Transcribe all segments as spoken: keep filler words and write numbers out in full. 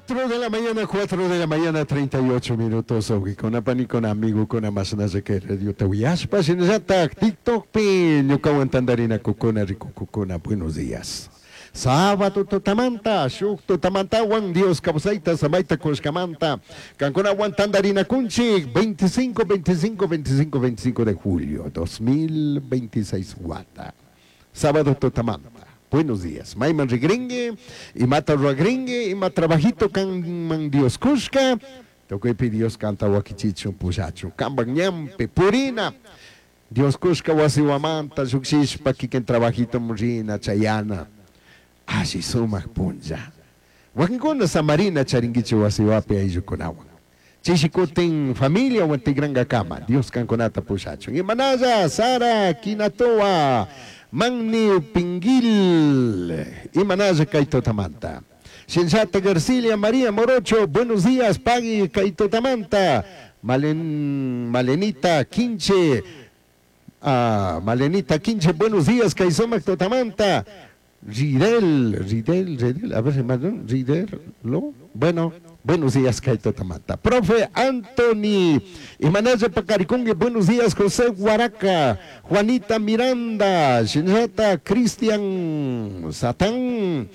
Cuatro de la mañana, cuatro de la mañana, treinta y ocho minutos. Wawkikuna, panikuna, amigokuna, mashnalla kay radiota uyashpa, shinallatak TikTokpi ñukawan tandarinakukuna, rikukukuna, buenos días. Sábado tutamanta, shuk tutamantawan Dios kawsayta, samayta kushkamanta, kankunawan tandarinakunchik veinticinco, veinticinco, veinticinco, veinticinco de julio dos mil veintiséis wata. Sábado tutamanta. Buenos días. Mayman rigringi, imata ruragringui, ima trabajito kanman Dios kushka, tukuypi Dios kanta wakichichun, pushachun. Kampak ñanpi purina. Dios kushka wasiwamanta llukshishpa kikin trabajito rina chayana. Alli sumak punlla. Wakinkuna samarina charinkichik wasiwapi ayllukunawan. Chishi kutin familiawan tikrankakama Dios kankunata pushachun. Imanalla Sara Kinatoa Manni Pingil, imanalla kay tutamanta. Shinllata Garcilia María Morocho, buenos días, pagui kay tutamanta. Malen, Malenita Quinche, ah, Malenita Quinche, buenos días, kay sumak tutamanta. Ridel, Ridel, Ridel, a ver, hermano, Ridel, ¿lo? Bueno, buenos días, kay tutamanta. Profe Anthony, imanalla paqarikunki, buenos días, José Guaraca, Juanita Miranda, Shinjata Cristian Satán,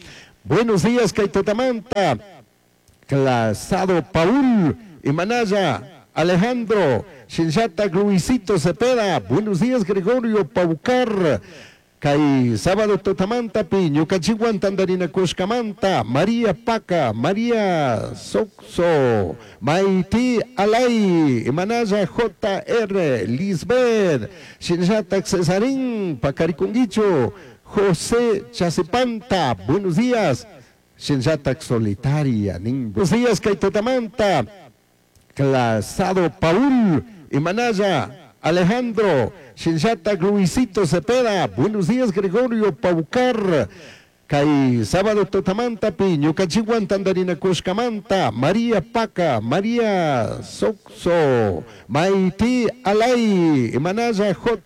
buenos días, kay tutamanta. Clasado Paul, imanalla, Alejandro, Shinjata Luisito Cepeda, buenos días, Gregorio Paucar. Kay sábado tutamantapi ñukanchikwan tandarinakushkamanta María Paca, María Soxo, Maiti Alay, Imanalla J R, Lisbeth, Shinllatak Cesarín, Pacarikunguicho, José Chasipanta, buenos días. Shinllatak Solitaria, nin. Buenos días, kay tutamanta. Clasado Paul, Imanalla, Alejandro, Shinllata Luisito Cepeda, buenos días, Gregorio Paucar. Kay sábado tutamantapi ñukanchikwan tandarinakushkamanta María Paca, María Soxo, Maiti Alay, Imanalla J.